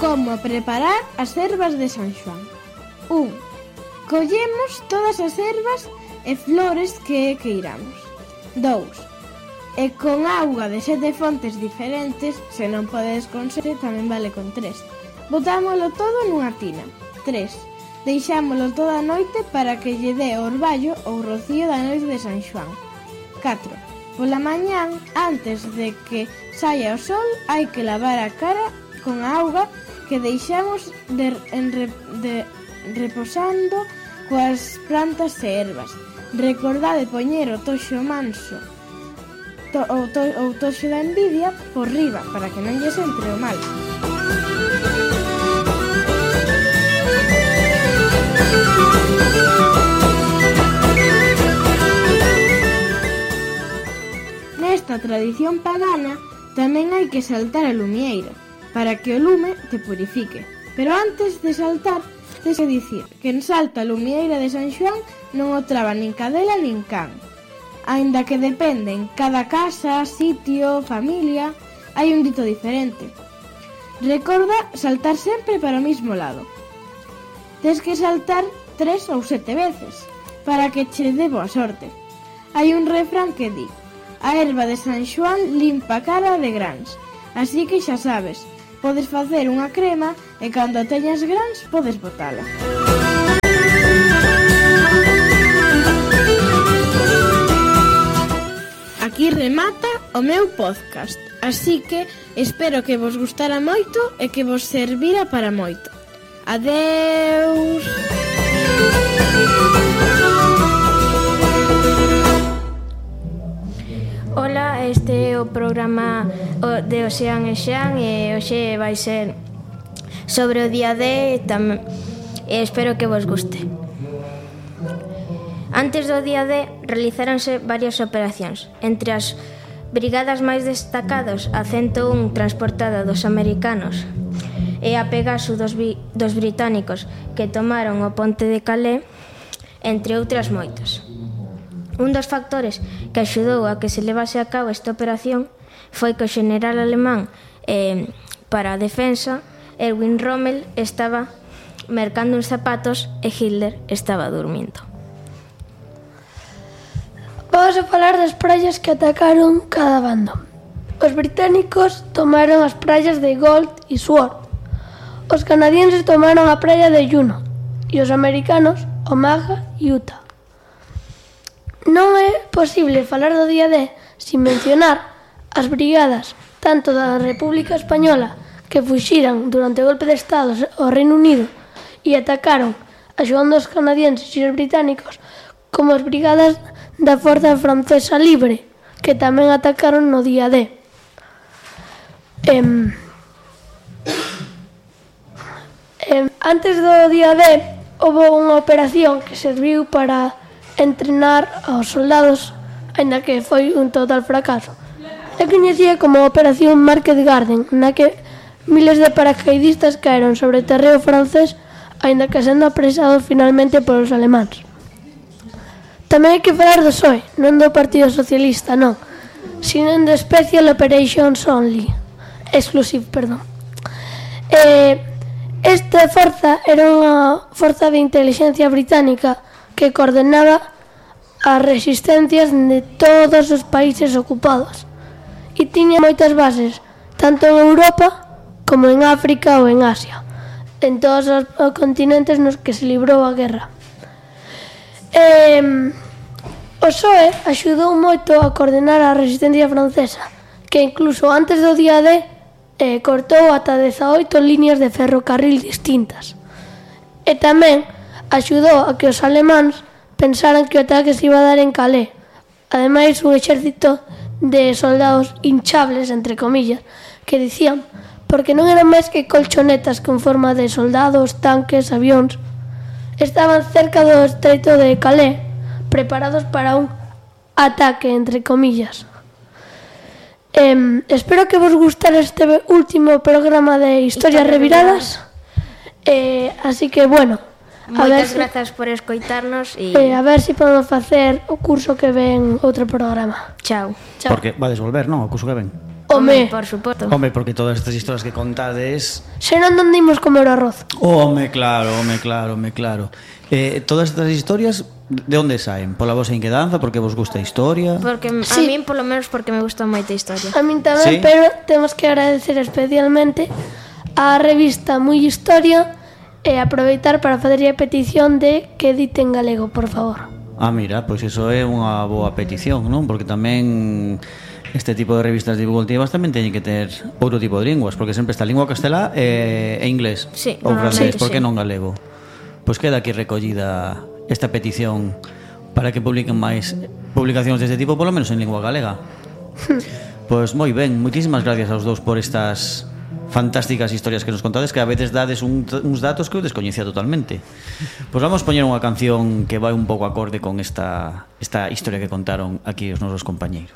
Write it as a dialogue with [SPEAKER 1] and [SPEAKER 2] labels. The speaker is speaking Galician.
[SPEAKER 1] Como preparar as ervas de San Xoán. 1. Collemos todas as ervas e flores que queiramos. 2. E con auga de 7 fontes diferentes, se non podes con 7, tamén vale con 3. Botámolo todo nunha tina. 3. Deixámolo toda a noite para que lle dé o orballo ou rocío da noite de San Xoán. 4. Pola mañán, antes de que saia o sol, hai que lavar a cara con a auga que deixamos reposando coas plantas e ervas. Recordade poñer o toxo manso ou toxo da envidia por riba para que non lles entre o mal. Nesta tradición pagana tamén hai que saltar a lumieira para que o lume te purifique. Pero antes de saltar, tens que dicir que en salta a lumieira de San Xoán non o traba nin cadela nin can. Aínda que depende en cada casa, sitio, familia, hai un dito diferente. Recorda saltar sempre para o mismo lado. Tens que saltar 3 ou 7 veces para que che dé boa sorte. Hai un refrán que di: a erva de San Xoán limpa a cara de grans. Así que xa sabes, podes facer unha crema e cando teñas grans podes botala. Aquí remata o meu podcast, así que espero que vos gustara moito e que vos servira para moito. Adeus!
[SPEAKER 2] Ola, este é o programa de Ocean e Xan e hoxe vai ser sobre o día D e espero que vos guste. Antes do día D realizáronse varias operacións. Entre as brigadas máis destacadas, a 101 transportada dos americanos e a Pegasus dos británicos que tomaron o ponte de Calais, entre outras moitas. Un dos factores que axudou a que se levase a cabo esta operación foi que o xeneral alemán para a defensa, Erwin Rommel, estaba mercando uns zapatos e Hitler estaba dormindo.
[SPEAKER 3] Vamos a falar das praias que atacaron cada bando. Os británicos tomaron as praias de Gold e Sword. Os canadienses tomaron a praia de Juno e os americanos Omaha e Utah. Non é posible falar do día D sin mencionar as brigadas tanto da República Española que fuxiran durante o golpe de Estado ao Reino Unido e atacaron axudando os canadienses e os británicos, como as brigadas da Forza Francesa Libre, que tamén atacaron no día D. Antes do día D, houve unha operación que serviu para entrenar aos soldados, aínda que foi un total fracaso. É coñecida como a Operación Market Garden, na que miles de paracaidistas caeron sobre terreo francés, aínda que sendo apresados finalmente polos alemáns. Tamén hai que falar do PSOE, non do Partido Socialista, non, sino do Special Operations Only, Exclusive, perdón. Esta forza era unha forza de inteligencia británica que coordenaba as resistencias de todos os países ocupados e tiña moitas bases, tanto en Europa como en África ou en Asia, en todos os continentes nos que se librou a guerra. O PSOE axudou moito a coordenar a resistencia francesa, que incluso antes do día D cortou ata 18 líneas de ferrocarril distintas. E tamén axudou a que os alemáns pensaran que o ataque se iba a dar en Calais. Ademais, un exército de soldados hinchables, entre comillas, que dicían, porque non eran máis que colchonetas con forma de soldados, tanques, avións. Estaban cerca do estreito de Calais, preparados para un ataque, entre comillas. Espero que vos gustara este último programa de Historias Reviradas. Así que, bueno,
[SPEAKER 2] moitas grazas por escoitarnos e
[SPEAKER 3] a ver se podemos facer o curso que ven outro programa.
[SPEAKER 2] Chao.
[SPEAKER 4] Porque vades volver, non? O curso que ven.
[SPEAKER 3] Home,
[SPEAKER 2] por suposto.
[SPEAKER 4] Home, porque todas estas historias que contades...
[SPEAKER 3] senón onde imos comer o arroz.
[SPEAKER 4] Home, claro. Todas estas historias, de onde saen? Pola vosa inquedanza, porque vos gusta a historia?
[SPEAKER 2] Porque a
[SPEAKER 3] Sí.
[SPEAKER 2] min, polo menos, porque me gusta moita a historia.
[SPEAKER 3] A min tamén,
[SPEAKER 4] Sí.
[SPEAKER 3] pero temos que agradecer especialmente a revista Moi Historia e aproveitar para fazer a petición de que edite en galego, por favor.
[SPEAKER 4] Mira, pois iso é unha boa petición, non? Porque tamén este tipo de revistas divulgativas tamén teñen que ter outro tipo de linguas, porque sempre está lingua castelá e inglés,
[SPEAKER 2] Sí,
[SPEAKER 4] ou francés,
[SPEAKER 2] normalmente
[SPEAKER 4] por que
[SPEAKER 2] sí.
[SPEAKER 4] non galego? Pois queda aquí recollida esta petición para que publiquen máis publicacións deste tipo, polo menos en lingua galega. Pois moi ben, moitísimas gracias aos dous por estas fantásticas historias que nos contades, que a veces dades uns datos que eu descoñecía totalmente. Pois vamos poñer unha canción que vai un pouco acorde con esta historia que contaron aquí os nosos compañeiros.